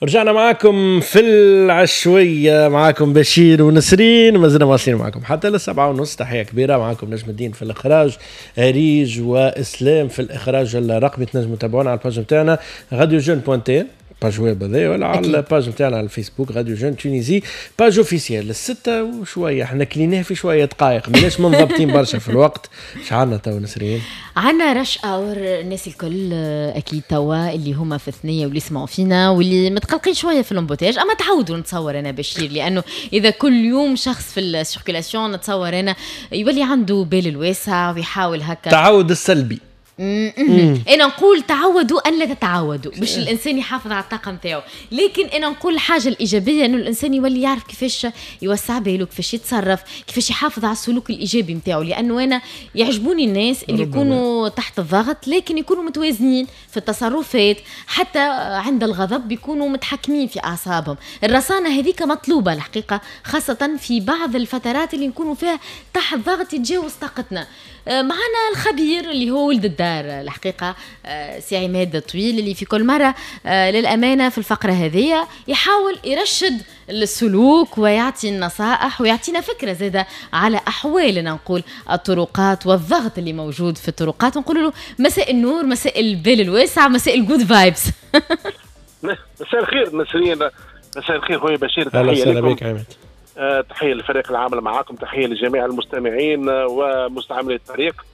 رجعنا معاكم في العشوية، معاكم بشير ونسرين، ما زلنا واصلين معاكم حتى 7:30. تحية كبيرة معاكم نجم الدين في الإخراج، أريج وإسلام في الإخراج الرقمي. تنجموا تتابعونا على ال page نتاعنا Radio Jeunes point tn، page web هذا، ولا على ال page نتاعنا على الفيسبوك Radio Jeunes Tunisie page officielle. 6 وشوية، احنا كليناه في شوية دقائق، ماناش منضبطين برشا في الوقت. اش عندنا تو نسرين؟ عندنا rush hour. الناس الكل اكيد توا اللي هما في الثنية واللي يسمعوا فينا واللي متقلقين شوية في l'embouteillage، اما تعودوا نتصور انا بشير، لانه اذا كل يوم شخص في ال circulation نتصور انا يولي عنده بال الواسع ويحاول هكا. تعود السلبي. انا نقول تعودوا ان لا تتعودوا باش الانسان يحافظ على الطاقة نتاعو، لكن انا نقول الحاجة الايجابية انه الانسان يولي يعرف كيفاش يوسع باله، كيفاش يتصرف، كيفاش يحافظ على السلوك الايجابي نتاعو، لانه انا يعجبوني الناس اللي يكونوا تحت الضغط لكن يكونوا متوازنين في التصرفات، حتى عند الغضب يكونوا متحكمين في اعصابهم. الرصانه هذيك مطلوبه الحقيقه، خاصة في بعض الفترات اللي نكونوا فيها تحت ضغط يتجاوز طاقتنا. معنا الخبير اللي هو ولد الدار الحقيقة، سي عماد طويل، اللي في كل مرة للأمانة في الفقرة هذه يحاول يرشد السلوك ويعطي النصائح ويعطينا فكرة زادة على أحوالنا نقول الطرقات والضغط اللي موجود في الطرقات. نقول له مساء النور، مساء البال الواسع، مساء ال good vibes. مساء الخير نسرين، مساء الخير خويا بشير. تحية لكم. بك عماد. تحية للفريق العامل معاكم، تحية لجميع المستمعين ومستعملي الطريق.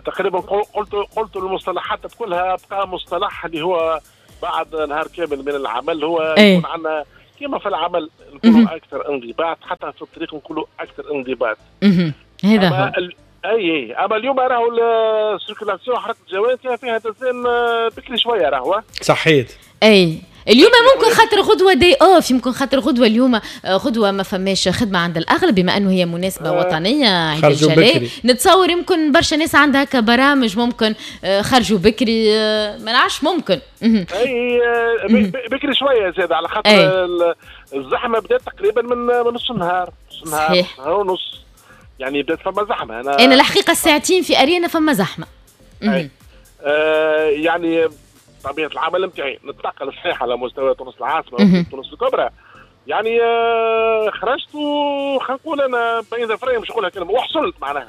تقريبا قلت المصطلحات كلها، بقى مصطلح اللي هو بعد نهار كامل من العمل هو يكون عندنا كما في العمل نكونوا اكثر انضباط، حتى في الطريق نكونوا اكثر انضباط. هذا هو. اي، اما اليوم راهو ال circulation، حركة الجوال فيها تزين بكري شوية راهو. صحيت. اي، اليوم ممكن خاطر غدوه day off، يمكن خاطر غدوه اليوم غدوه ما فماش خدمة عند الاغلب، بما انه هي مناسبة وطنية عيد الجلاء، نتصور يمكن برشا ناس عندها هكا برامج، ممكن خرجوا بكري، ما نعرفش، ممكن. اي، بكري شوية زاد على خاطر الزحمة بدات تقريبا من نص النهار، نص النهار، نهار ونص، يعني بدات فما زحمه. انا الحقيقة الساعتين في اريانا فما زحمه. يعني طبيعة العمل نتاعي نتنقل صحيح على مستوى تونس العاصمة وتونس الكبرى، يعني خرجت وخلينا نقول انا بين ظفرين، مش نقولها كلمة وحصلت معناها،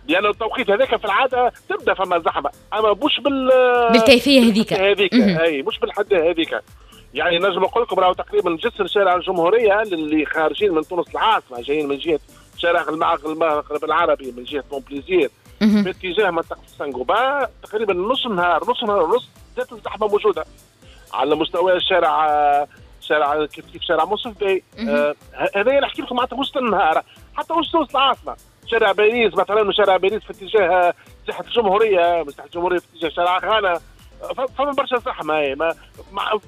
لان التوقيت هذاك في العادة تبدا فما زحمه، اما مش بال بالكيفية هذيك. هذيك، اي، مش بالحد هذيك. يعني نجم نقول لكم راهو تقريبا جسر شارع الجمهوريه، اللي خارجين من تونس العاصمة جايين من جهة شارع المغرب العربي، من جهة مونبليزير باتجاه منطقة سانغوبا، تقريبا نص نهار، نص نهار ونص زادت الزحمة موجودة على مستوى الشارع، شارع كيف كيف شارع منصف باي. هذا نحكي لكم معناتها وسط النهار، حتى وسط العاصمه، شارع باريس مثلا، شارع باريس في اتجاه ساحة الجمهوريه، ساحة الجمهورية في اتجاه شارع غانا، فما برشا زحمه. ما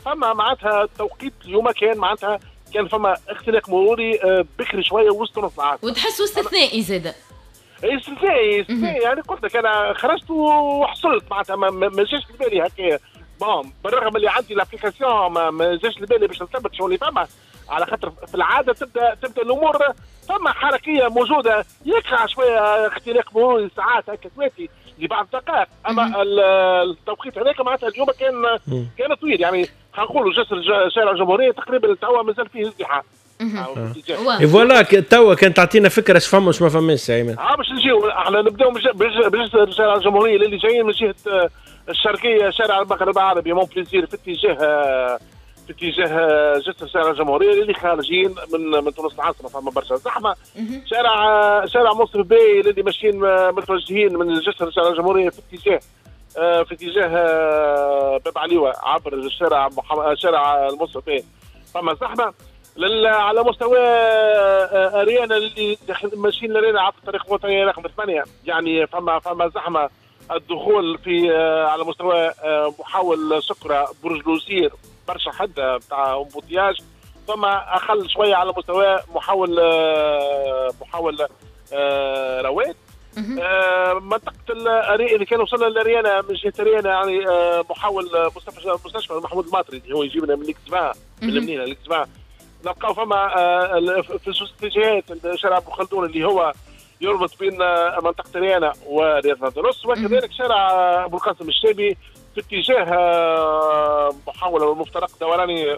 فما معناتها توقيت اليوم كان معناتها كان فما اختناق مروري بكري شوية وسط نص العاصمه. وتحسوا استثنائي زاد. استثنائي، استثنائي. يعني قلت لك انا خرجت وحصلت معناتها ما جاش لبالي هكا. bon، بالرغم اللي عندي l'application ما جاش لبالي باش نثبت شو اللي فما، على خاطر في العادة تبدا الامور فما حركية موجوده، يقع شوية اختناق مروري ساعات هكا تواتي لبعض الدقائق، اما التوقيت هذاك معناتها اليوم كان طويل. يعني خلينا نقولوا جسر شارع الجمهورية تقريبا توا مازال فيه ازدحام. voilà، توا كان تعطينا فكرة اش فما واش ما فماش سي عماد. اه، باش نجيو احنا نبداو بجسر شارع الجمهوريه، اللي جايين من جهة الشرقيه، شارع المغرب العربي مونبليزير في اتجاه جسر شارع الجمهوريه، اللي خارجين من تونس العاصمة فما برشا زحمه. شارع منصف باي، اللي ماشيين متوجهين من جسر شارع الجمهورية في اتجاه باب عليوه عبر الشارع شارع المنصف باي فما زحمه. على مستوى اريانا، اللي ماشيين لاريانا عبر الطريق الوطني رقم 8، يعني فما زحمه. الدخول في على مستوى محول سكره برج لوزير برشا حده بتاع embouteillage. ثم اقل شوية على مستوى محول رواد. منطقة اللي كان وصلنا لاريانا من جهة اريانا، يعني محول مستشفى محمود الماطري اللي هو يجيبنا من l'X 20، من المنيهله l'X 20، نلقاو فما في زوج اتجاهات شارع ابن خلدون اللي هو يربط بين منطقة ريانا ورياض الاندلس، وكذلك شارع ابو القاسم الشابي في في اتجاه محاولة المفترق دوراني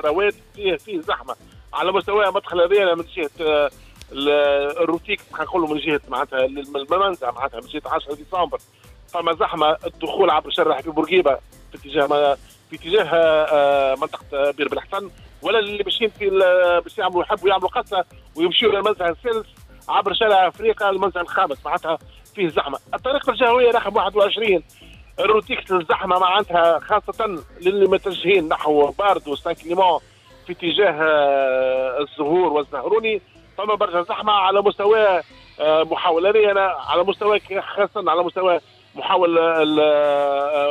رواد فيه زحمة على مستوى مدخل هذايا من جهة الروتيك، خلينا نقولوا من جهة معناتها المنزه، معناتها من جهة 10 ديسمبر فما زحمة الدخول عبر شارع حبيب بورقيبة في اتجاه منطقة بير بالحسن، ولا اللي ماشيين في باش يعملوا يحبوا يعملوا قصة ويمشيوا للمنزه الثالث عبر شارع افريقيا المنزه الخامس، معناتها فيه زحمة. الطريق الجهوية رقم 21 الروتيكس الزحمة معناتها خاصة للي متجهين نحو باردو سان كليمون في اتجاه الزهور والزهروني، فما برشا زحمة على مستوى محاولة انا على مستوى خاصة على مستوى محاول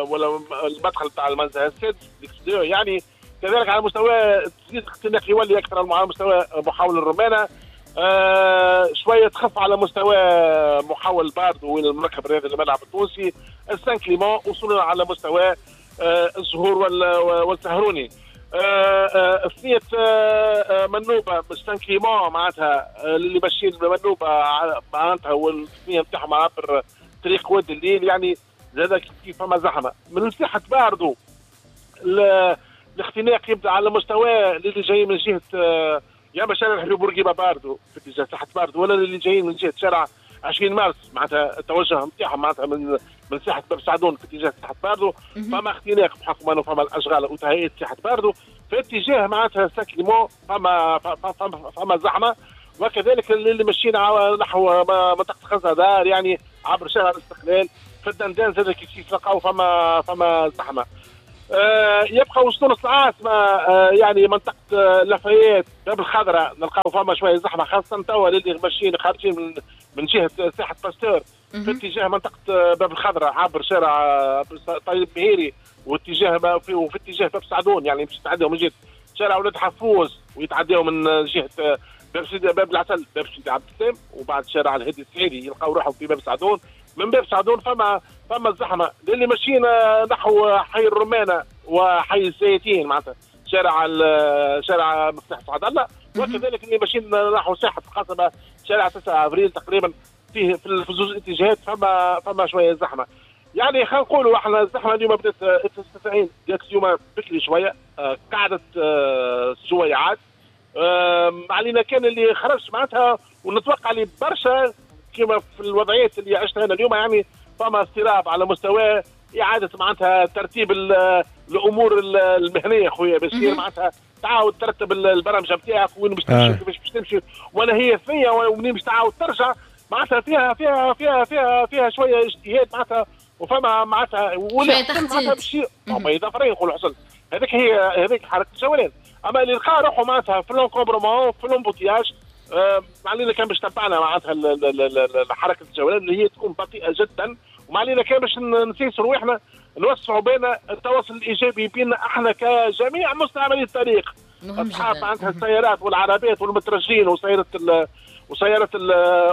ولا المدخل تاع المنزه السادس يعني كذلك على مستوى تزيد اختناق يولي اكثر على مستوى محاول الرمانه، شوية تخف على مستوى محاول باردو وين المركب الرياضي الملعب التونسي السان كليمون، وصولا على مستوى الزهور والسهروني. ثنية منوبة سان كليمون معناتها اللي ماشيين منوبة معناتها والثنية نتاعهم عبر طريق واد الليل، يعني زاد كيف فما زحمة. من ساحة باردو الاختناق يبدا على مستوى اللي جاي من جهة يا اما شارع حبيب بورقيبة باردو في اتجاه ساحة باردو، ولا اللي جايين من جهة شارع 20 مارس معناتها التوجه نتاعهم معناتها من ساحة باب سعدون في اتجاه ساحة باردو، فما اختناق بحكم انه فما الاشغال وتهيئه ساحة باردو في اتجاه معناتها سان كليمون فما زحمة، وكذلك اللي ماشيين نحو منطقة خزندار يعني عبر شارع الاستقلال في الدندان زاد كيف تلقاو فما زحمة. يبقى وسط تونس العاصمة يعني منطقة لافايات باب الخضراء نلقاو فما شوية زحمة خاصة توا للي ماشيين خارجين من جهة ساحة باستور في اتجاه منطقة باب الخضراء عبر شارع طيب مهيري واتجاه وفي اتجاه باب سعدون، يعني باش يتعداو من جهة شارع ولاد حفوز ويتعداو من جهة باب سيدي باب العسل باب سيدي عبد السلام وبعد شارع الهادي السعيدي يلقاو روحهم في باب سعدون. من باب سعدون فما الزحمة للي ماشيين نحو حي الرمانه وحي الزيتين معناتها شارع مفتاح سعد الله، وكذلك اللي ماشيين نحو ساحة القصبة شارع 9 افريل تقريبا فيه في زوج اتجاهات فما شوية زحمة. يعني خلينا نقولوا احنا الزحمة اليوم بدات 96 بدات اليوم بكري شوية، قعدت سويعات علينا كان اللي خرج معناتها، ونتوقع اللي برشا كما في الوضعيات اللي عشتها انا اليوم يعني فما اضطراب على مستوى اعاده معناتها ترتيب الامور المهنية خويا بشير، معناتها تعاود ترتب البرمجة نتاعك وين باش تمشي وكيفاش باش تمشي وانا هي ثنيه ومنين باش تعاود ترجع معناتها فيها فيها فيها فيها فيها شوية اجتهاد معناتها، وفما معناتها شوية تخطيط ما يضافرين نقولوا حصل هذيك هي هذيك حركة الجولان. اما اللي لقى روحه معناتها في l'encombrement في l'embouteillage ما علينا كان باش تبعنا معناتها حركة الجولان اللي هي تكون بطيئه جدا، وما علينا كان باش نسيسوا رواحنا نوسعوا بين التواصل الايجابي بيننا احنا كجميع مستعملي الطريق، اصحاب معناتها السيارات والعربات والمترجين وسيارة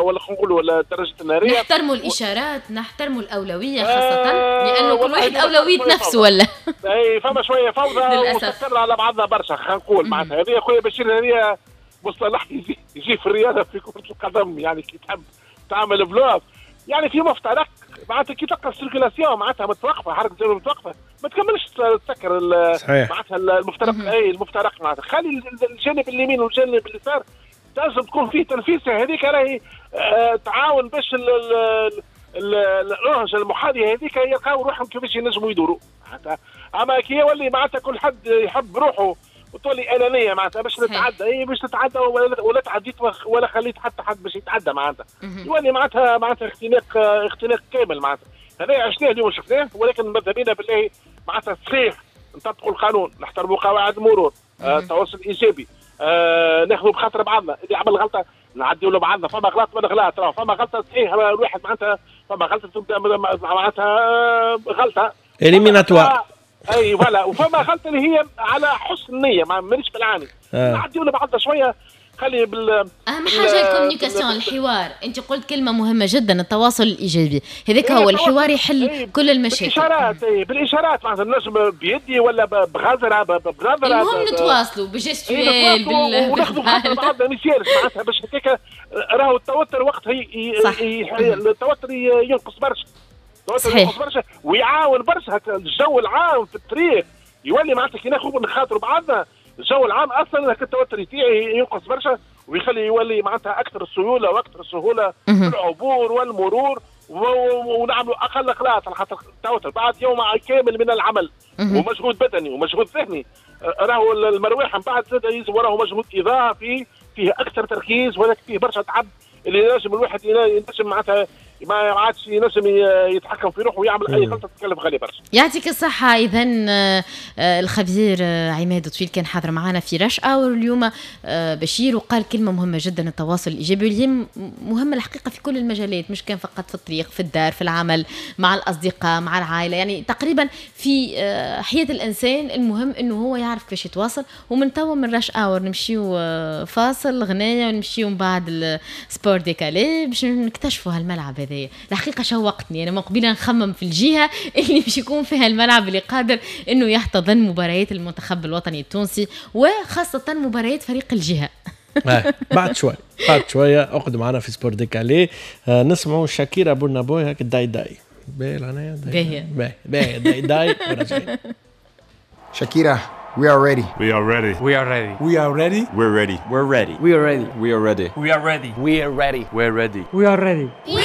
ولا نقولوا الدراجة النارية. نحترموا الاشارات، نحترموا الاولوية خاصة لانه كل واحد اولوية نفسه ولا اي فما شوية فوضى وسكرنا على بعضنا برشا خلينا نقول معناتها. هذه خويا بشير هذه مصطلح يجي في الرياضة في كره القدم، يعني كي تحب تعمل bloc يعني في مفترق معناتها كي تلقى ال circulation معناتها متوقفه، حركة الجولة متوقفه ما تكملش تسكر معناتها المفترق، اي المفترق معناتها خلي الجانب اليمين والجانب اليسار لازم تكون فيه تنفيسه، هذيك راهي تعاون باش الأنهجة المحاذية هذيك يلقاو روحهم كيفاش ينجموا يدوروا. اما كي يولي معناتها كل حد يحب روحه وتولي انانية معناتها باش نتعدى، اي باش تتعدى ولا تعديت ولا خليت حتى حد باش يتعدى معناتها يولي معناتها اختناق كامل معناتها. هذا عشناه اليوم شفناه، ولكن ماذا بينا بالله معناتها صحيح نطبقوا القانون، نحترموا قواعد المرور، التواصل الايجابي، ناخذوا بخاطر بعضنا، اللي عمل غلطه نعديوا له بعضنا، فما غلط من غلط، فما غلطه صحيح الواحد معناتها فما غلطه تبدا معناتها غلطه éliminatoire اي voilà، وفما غلطه اللي هي على حسن النية مانيش بالعاني، نعديوا لبعضنا شوية خلي بال اهم حاجة ال communication، الحوار. انت قلت كلمة مهمة جدا، التواصل الايجابي، هذاك هو الحوار يحل كل المشاكل. بالاشارات، بالاشارات معناتها نجم بيدي ولا بغزره بنظره، المهم نتواصلوا ب gestuelle وناخذوا خاطر بعضنا ما يسالش معناتها باش هكاك راهو التوتر وقتها التوتر ينقص برشا. التوتر ينقص برشا ويعاون برشا الجو العام في الطريق، يولي معناتها كي ناخذ نخاطروا بعضنا الجو العام اصلا التوتر تاعي ينقص برشا ويخلي يولي معناتها اكثر سيولة واكثر سهولة في العبور والمرور، ونعملوا اقل اغلاط على خاطر التوتر بعد يوم كامل من العمل ومجهود بدني ومجهود ذهني، راهو المروحة من بعد زاد يلزم وراهو مجهود اضافي فيه اكثر تركيز، ولكن فيه برشا تعب اللي ينجم الواحد ينجم معناتها ما عادش ينجم يتحكم في روحه ويعمل اي غلطه تتكلف غالي برشا. يعطيك الصحة. اذا الخبير عماد طويل كان حاضر معنا في rush hour اليوم بشير، وقال كلمة مهمة جدا، التواصل الايجابي اللي هي مهمة الحقيقة في كل المجالات، مش كان فقط في الطريق، في الدار، في العمل، مع الاصدقاء، مع العائلة، يعني تقريبا في حياة الانسان المهم انه هو يعرف كيفاش يتواصل. ومن توا من rush hour نمشيو فاصل غنايه ونمشيو من بعد ال sport décalé باش نكتشفوا هالملعب هذا. الحقيقة شوقتني انا من قبيلة نخمم في الجهة اللي باش يكون فيها الملعب اللي قادر انه يحتضن مباريات المنتخب الوطني التونسي وخاصة مباريات فريق الجهة. بعد شوي، بعد شوية اقعدوا معنا في sport décalé. نسمعوا شاكيرا بورنا بوي هاك داي داي. باهي الغنايه؟ باهية. باهي باهي داي داي وراجعين. Shakira, we are ready. We are ready. We are ready. We are ready. We're ready. We're ready. We are ready. We are ready. We are ready. We are ready. We're ready. We are ready. We